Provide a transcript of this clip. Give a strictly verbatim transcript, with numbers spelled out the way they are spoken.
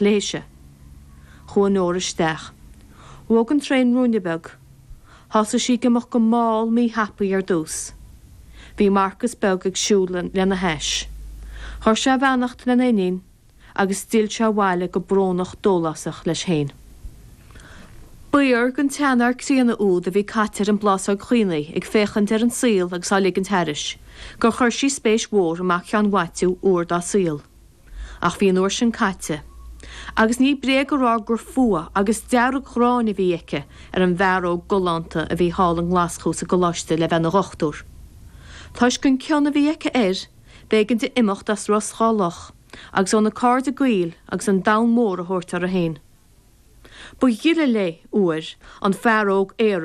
léise. Chuaigh Nóra isteach. Bhog an traein ruainne beag. Thosaigh sí ag imeacht go mall míthapaidh ar dtús. Bhí Marcas beag ag siúl lena hais. Chuir sé a bheannacht lena iníon agus d'fhill sé abhaile go brónach dólásach leis féin. B'fhíor don tseanfhear críonna úd a bhí caite ar an bplásóg chaonaigh ag féachaint ar an saol agus á ligint thairis, gur chuir sí spéis mhór i mac Sheáin Mhaitiú uair dá saol. Ach bhí an uair sin caite. Agus ní bréag a rá gur fuath agus dearg-ghráin a bhí aici ar an bhfear óg galánta a bhí thall i nGlaschú sa gcoláiste le bheith ina dhochtúir. Toisc an cion a bhí aici air, b'éigean di imeacht as Ros Dhá Loch, agus óna cairde gaoil agus an domhan mór a thabhairt uirthi féin. Ba ghile léi uair an fear óg aerach